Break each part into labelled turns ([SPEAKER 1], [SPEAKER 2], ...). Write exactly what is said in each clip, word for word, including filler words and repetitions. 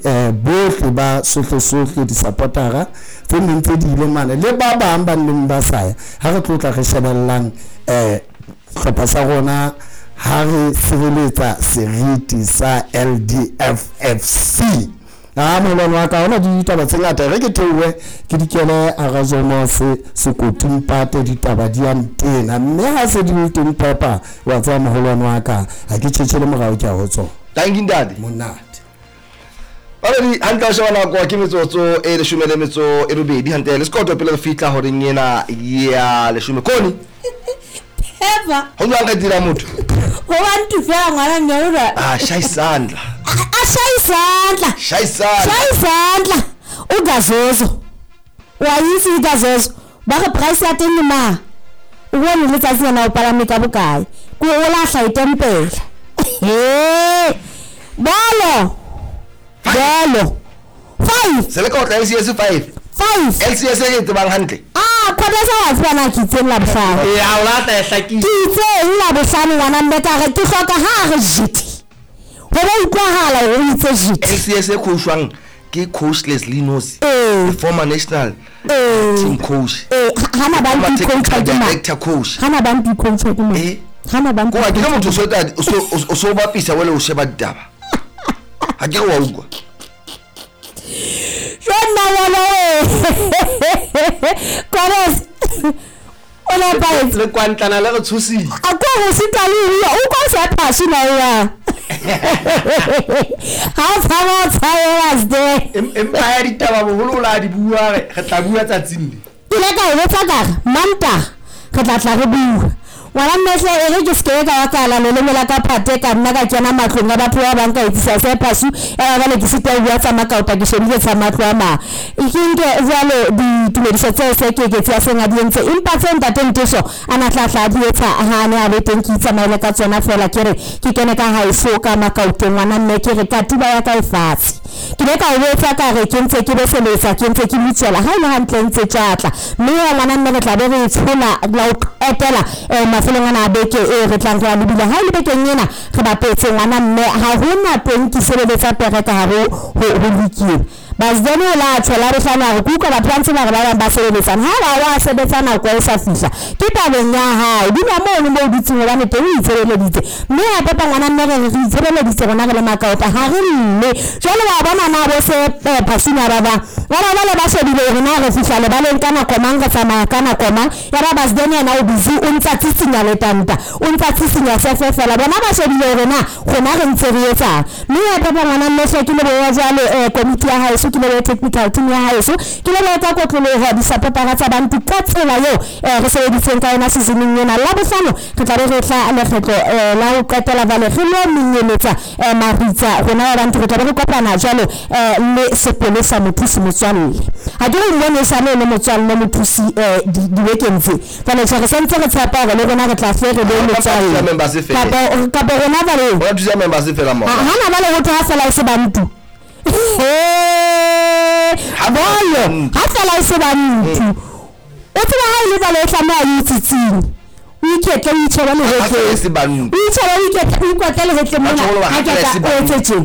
[SPEAKER 1] eh bohle ba sohle sohle di-supportera tse neng tse di ile mane le ba bang ba neng ba sa ya ha re tlotla re shebellang eh hlopha sa rona ha re sireletsa seriti sa L D F F C. A molwana wa ka hona ditaba tse ngata re ke theowe ke dikele Arazomo se sekoting pate ditaba di a ntena mme ha se di le teng papa wa tswa moholwane wa ka ha ke tjhetjhele morao ke a ho tsona.
[SPEAKER 2] Thank you ntate.
[SPEAKER 1] Monate.
[SPEAKER 2] Already hantle sheba nako ke metsotso e leshome le metso e robedi hantle le sekoto pele re fitla horeng ena ya leshome koni.
[SPEAKER 3] Eva.
[SPEAKER 2] Ho jwang ka dira motho?
[SPEAKER 3] Ho ba ntufela ngwana mme o re.
[SPEAKER 2] Ah shaisandla.
[SPEAKER 3] A shaisandla.
[SPEAKER 2] Shaisandla.
[SPEAKER 3] Shaisandla. O gazozo. Wa itse gazozo. Ba re price ya teng ma. O bone le tsatsi na o palame ka bokae. Ko o lahla itempela. He. Bolo. Bolo. Five.
[SPEAKER 2] Se le ka otla L C S five.
[SPEAKER 3] Five.
[SPEAKER 2] L C S e ke tsebang hantle.
[SPEAKER 3] Ah, khona sa wa tswana ke itseng la bohlano.
[SPEAKER 4] Eh, ha o lata e hlakile.
[SPEAKER 3] Ke itseng la bohlano ngwana mme ka re ke hloka ha re jete. Ho ba utlwahala hore o itse jete.
[SPEAKER 2] L C S e coachwang ke coach Leslie Nosi,
[SPEAKER 3] Eh.
[SPEAKER 2] the former national
[SPEAKER 3] Eh.
[SPEAKER 2] team coach.
[SPEAKER 3] Eh, hana ba
[SPEAKER 2] Former
[SPEAKER 3] mpi coach
[SPEAKER 2] technical
[SPEAKER 3] ke mang?
[SPEAKER 2] director coach.
[SPEAKER 3] Hana ba mpi coach ke mang?
[SPEAKER 2] Eh.
[SPEAKER 3] Hana ba mpi.
[SPEAKER 2] Ko ke motho so ta o so bapisa wele o sheba ditaba. Ha ke re wa utlwa.
[SPEAKER 3] Jonna ngwana we. Kores. O la paetse.
[SPEAKER 4] Le kwantlana le re tshosile.
[SPEAKER 3] A ko ho sita le ho o kwa sa phasi na ya. Ha tshaba tshaba zde.
[SPEAKER 4] Empa ya ditaba boholo la di bua re re tla bua tsatsing le.
[SPEAKER 3] Ke le ka e botsa ka re Manta re tla tla re bua. Ngwana mmehle e re ke se ke ka wa kala leleme la ka phate ka nna ka kena matlong a batho ba bang ka etsisa se phasu ya ba le ke sita bua tsa makauta ke shebile tsa matlo a mang. E ke nke jwale ditumediso tseo se ke ke tsa seng a di entse empa tse ntate Nteso a na tla tla di etsa ha ne a le teng ke itsamaele ka tsona fela ke re ke kene ka haeso ka makauteng ngwana mme ke re katiba ya ka e fatshe. Ke le ka o botsa ka re ke ntse ke beseletsa ke ntse ke butswela ha ile hantle ntse tjatla mme ya ngwana mme re tla be re tshola la o qetela eh mafelong ana a beke e re tlang re a lebile ha ile bekeng ena re bapetse ngwana mme ha hona teng ke sebeletsa pere ka hare ho ho lokile. Bazdeni la tshola re hlana re kuka batho ba ntse ba re ba bang ba sebeletsang ha ba wa sebetsa nako e sa fihla ke tabeng ya hae dula mono mo dutseng hobane teng o itshebeleditse mme ha pepa ngwana mme re re itshebeleditse rona re le makaota ha re lle jwale wa bona na bo se phasina ba ba ba ba ba ba shebile hore na re fihla lebaleng ka nako mang re tsamaya ka nako mang ya ba Bazdeni yena o busy o ntsa tsitsinya letanta o ntsa tsitsinya sefe fela bona ba shebile hore na rona re ntse re etsang mme ha pepa ngwana mme hle ke le boya jwale komiti ya haeso ke le technical team ya haeso ke le ka kotloloho di supportera tsa bantu ka tsela eo re sebeditseng ka yona seasoneng ena la bohlano re tla be re tla lekgetlo la ho qetela vale re lo menyeletsa maritsa rona ba bantu re tla be re kopana jwalo le sepolesa mothusi motswalle ha ke re mmone sa le le motswalle mothusi dibekeng tse jwale re sentse re tshepa hore le rona re tla hle re be motswalle kapa kapa rona vale
[SPEAKER 2] ba thusa members fela mo
[SPEAKER 3] ha na ba le ho tha fela e se bantu bolo ha fela e se bantu o tseba ha ile balo e tlameha o itsitsing o iketle o itshebe lehetleng
[SPEAKER 2] e se bantu
[SPEAKER 3] o itshebe o iketle o ikotle lehetleng mona ha ke tla o etse tje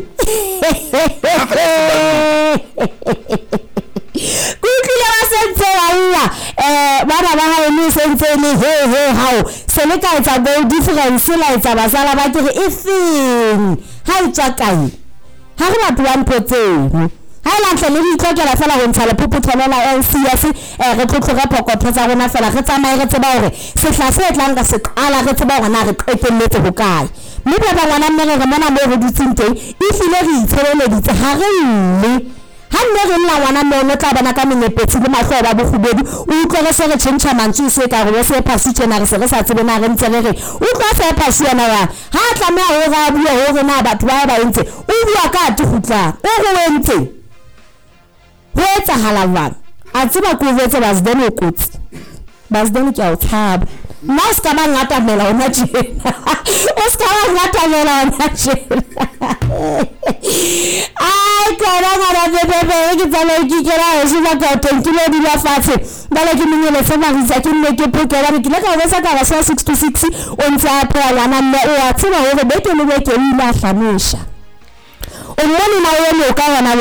[SPEAKER 3] ke utlwile ba sentse ba lla um bana ba hae mme sentse le he he hao se le ka etsa goal difference la etsa basala ba ke re e feng ha e tswa kae ha re batho ba ntho tseo ha e lantle le itlhokela fela ho ntsha lephopotholo la L C S eh re tlotloge pokotho tsa rona fela re tsamaye re tseba hore sehla se tlang ka se qala re tseba hore na re qetelletse hokae mme ba ba ngwana mme re mona moo re dutseng teng ehlile re itshebeleditse ha re lle ha nne re lla ngwana mme o tla bona ka menyepetsi le mahlo a ba bokgubedu o utlwe re se re tjhentjha mantswe se ka re se phasi tjena re se re sa tsebe na re ntse re re utlwa se phasi yena ya ha tlameha hore a bue hore na batho ba ba entse o bua ka ati kgutlang o re entse ho etsahala jwang a tseba ko jwetse Bazdeni o kotsi Bazdeni ke a o tshaba nna o ska ba ngatamela hona tjena o ska ba ngatamela hona tjena ai kona ngwana bebebe ke tsamaye ke kena heso makaoteng ke lo dula fatshe jwale ke menyeletse maritsa ke nne ke poke hobane ke ile ka o botsa ka sa six to six o ntse a pheha ngwana mme o a tseba hore beke le beke o ile a hlamesha o O mmone na o eme o ka gona bjale.